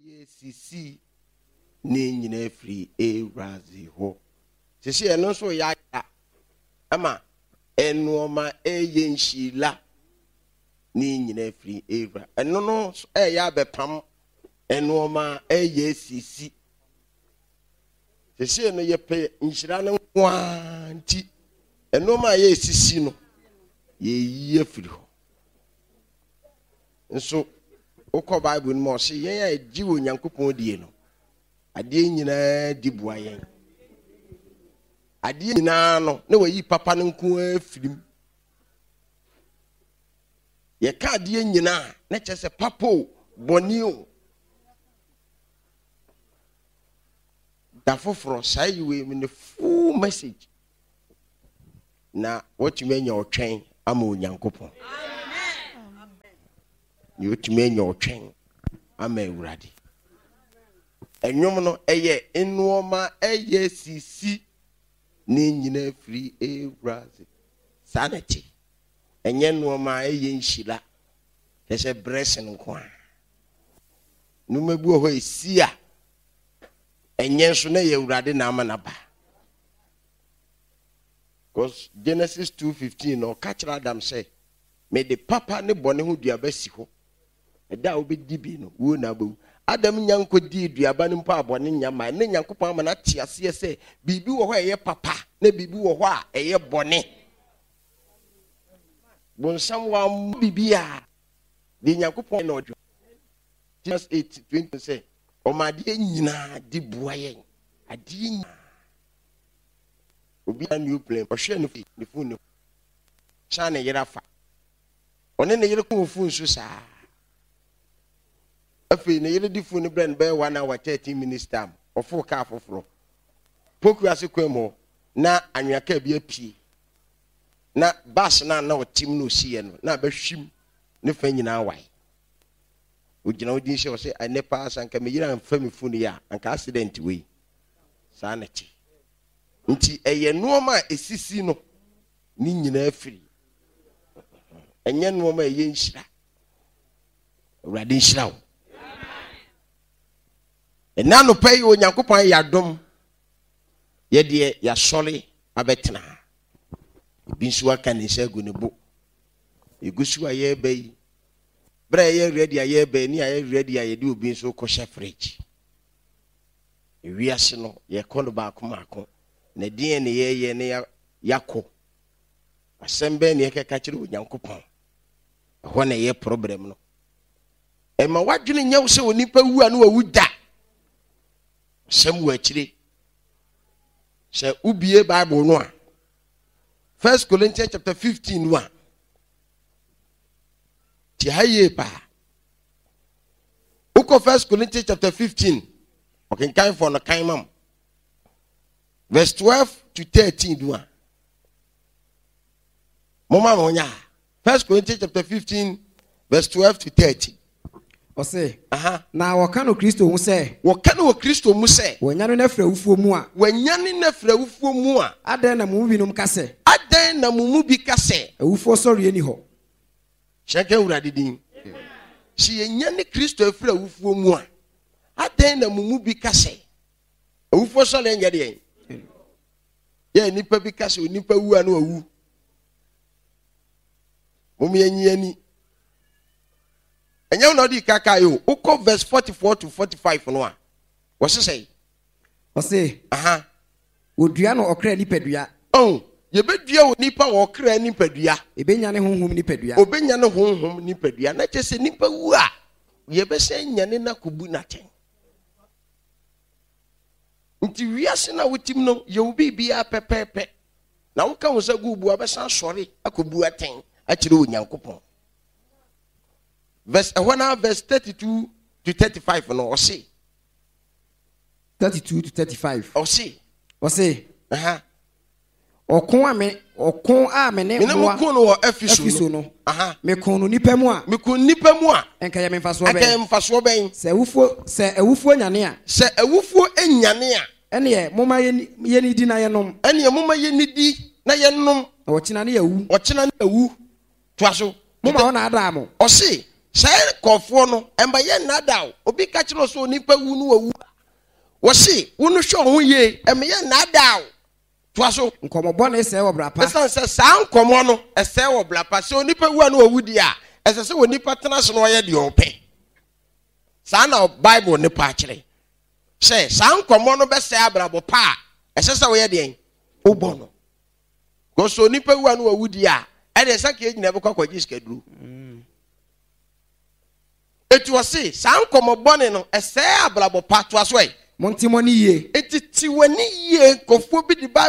Ɛyɛ sisi ne nyinaa firi Ewuradze hɔ. Sisi ɛno nso yɛ ayera ama nnoɔma ɛyɛ nhyira ne nyinaa firi Ewura. Ɛno no ɛyɛ abɛpam nnoɔma ɛyɛ sisi. Sisi no yɛpɛ nhyira no nko ara nti nnoɔma a ɛyɛ sisi no yɛyi afiri hɔ. Nso wokɔ Bible no mu a ɔse yɛn a yɛgye Onyankopɔn die no, adeɛ nyinaa di boa yɛn. Adeɛ nyinaa no, na wayi papa no nko ara firi mu. Yɛka adeɛ nyinaa na kyerɛ sɛ papa o, bɔne o. Da foforɔ saa yi wei ne full message. Na watumi anya ɔtwɛn ama Onyankopɔn. Na watumi anya ɔtwɛn ama Awurade. Ɛnwom no ɛyɛ nnoɔma ɛyɛ sisi ne nyina firi Awurade. Saa na ɛte. Ɛnyɛ nnoɔma ɛyɛ nhyira. Kyerɛ sɛ blessing nko a. Nnoɔma bi wɔ hɔ ɛsi a ɛnyɛ nso na ɛyɛ Awurade na ama no aba. Because Genesis 2:15 no ɔka kyerɛ Adam sɛ, mede papa ne bɔne ho duaba si hɔ. Ɛda a wobɛdi bi no, wuo na wobɛwu. Adam nya nkɔdii duaba no mpo a bɔne nya mmae. Na Nyankopɔn ama no ate aseɛ sɛ biribi wɔ hɔ a ɛyɛ papa na biribi wɔ hɔ a ɛyɛ bɔne. Bonsam wammɔ biribiara. Deɛ Nyankopɔn na ɔdwe. Genesis 8:20 sɛ ɔma adeɛ nyinaa di boa yɛn. Adeɛ nyinaa. Obi a new plane ɔhwɛ ne fi ne fon ne san ne yere afa. Ɔne ne yere ko wɔ fon so saa. Afei ne yere de fon no brɛ no bɛyɛ 1 hour 13 minutes time. Ɔforo kaa foforɔ. Poku ase kwan mu hɔ na anwea kaa bi apue. Na bus no a na ɔte mu na ɔsiiɛ no na abɛhwim ne fa nyinaa wae. Ogyina hɔ din sɛ ɔsɛ ɛnɛ paa sɛ anka me yere amfa me fon yi a anka accident wei. Saa na ɛte. Nti ɛyɛ nnoɔma a ɛsisi no ne nyinaa firi. Ɛnyɛ nnoɔma a ɛyɛ nhyira. Awurade nhyira wo. Ɛnɛ anɔpa yi Onyankopɔn ayɛ adom yɛdeɛ yɛasɔre abɛtena. Ebi nso aka ne nsa agu ne bo. Yɛgu so a yɛreba yi, berɛ a yɛyɛ ready a yɛreba yi ne yɛayɛ ready a yɛde obi nso kɔhyɛ fridge. Wiase no, yɛkɔ no baako mmaako, na ɛdeɛn na yɛreyɛ na yɛakɔ? Asɛm bɛn na yɛkɛka kyerɛ Onyankopɔn? Ɛhɔ na ɛyɛ problem no. Ɛma w'adwene nyɛ wo sɛ onipa wu a na wawu da. Asɛm wɔ akyire. Sɛ wobie Bible no a, First Corinthians chapter 15 no a, te ha yie paa. Wokɔ First Corinthians chapter 15, ɔkenkanfoɔ no kan ma m. Verse 12 to 13 do a. Moma mo nya. First Corinthians chapter 15, verse 12 to 13. Ɔse, Aha. Na wɔka no Kristo ho sɛ. Wɔka no wɔ Kristo mu sɛ. Wɔanyane no afiri awufoɔ mu a. Wɔanyane no afiri awufoɔ mu a. Adɛn na mo mu binom ka sɛ. Adɛn na mo mu bi ka sɛ. Awufoɔ sɔreɛ nni hɔ. Hyɛ nka Awurade din. Sɛ yɛnyane Kristo afiri awufoɔ mu a, adɛn na mo mu bi ka sɛ awufoɔ sɔre nyɛ deɛn? Yɛ nnipa bi ka sɛ onipa wu a na wawu. Mom yɛnyi ani. Ɛnyɛ wo na ɔde kaka yi o. Wokɔ verse 44 to 45 no a, wɔse sɛn? Ɔse, Aha. Wɔdua no ɔkra nipadua. Oh, yɛbɛdua onipa wɔ ɔkra nipadua. Ɛbɛnya ne honhom nipadua. Ɔbɛnya ne honhom nipadua. Na kyerɛ sɛ nipa wu a, yɛbɛsan nyane no akɔbu no atɛn. Nti wiase no a wotim no, yɛ wo biribiara pɛpɛɛpɛ. Na woka wo nsa gu wo bu a, wobɛsan asɔre akɔbu atɛn akyerɛ Onyankopɔn. Verse, ɛhɔ no verse 32 to 35 no, ɔse. 32 to 35. Ɔse. Ɔse. Aha. Ɔko a me ɔko a me ne mene mo ko no wɔ Efeso no. no. Aha. Meko no nipa mu a. Meko nipa mu a. Nka yɛ me mfasoɔ bɛn. Nka yɛ mfasoɔ bɛn. Sɛ awufoɔ sɛ awufoɔ nyane a. Sɛ awufoɔ nyane a. Ɛneɛ momma yɛnidi na yɛnom. Ɛneɛ momma yɛnidi na yɛnom. Na ɔkyena ne yɛawu. Ɔkyena ne yɛawu. Toa so. Momma wɔnnaadaa mo. Ɔse. Saa nkurɔfoɔ no, ɛmma yɛnnaadaa wo. Obi ka kyerɛ wo sɛ onipa wu no wawu a, wɔse wo no hwɛ wo ho yie, ɛmma yɛnnaadaa wo. Toa so. Nkɔmmɔ bɔne sɛe ɔbra pa. Ɛsiane sɛ saa nkɔmmɔ no ɛsɛe ɔbra pa. Sɛ onipa wu a na wawu deɛ a, ɛsɛ sɛ onipa tena ase na ɔyɛ deɛ ɔpɛ. Saa na Bible no pa kyerɛ. Sɛ saa nkɔmmɔ no bɛsɛe abrabɔ pa a, ɛsɛ sɛ woyɛ deɛn? Wobɔ no. Because sɛ onipa wu a na wawu deɛ a, ɛdeɛ sɛ nka yɛn nyinaa bɛkɔ akɔgye sikaduro. Eti ɔse saa nkɔmmɔ bɔne no ɛsɛe abrabɔ pa. Toa so ɛ. Monte mo ani yie. Enti te w'ani yie. Nkurɔfoɔ bi de Bible.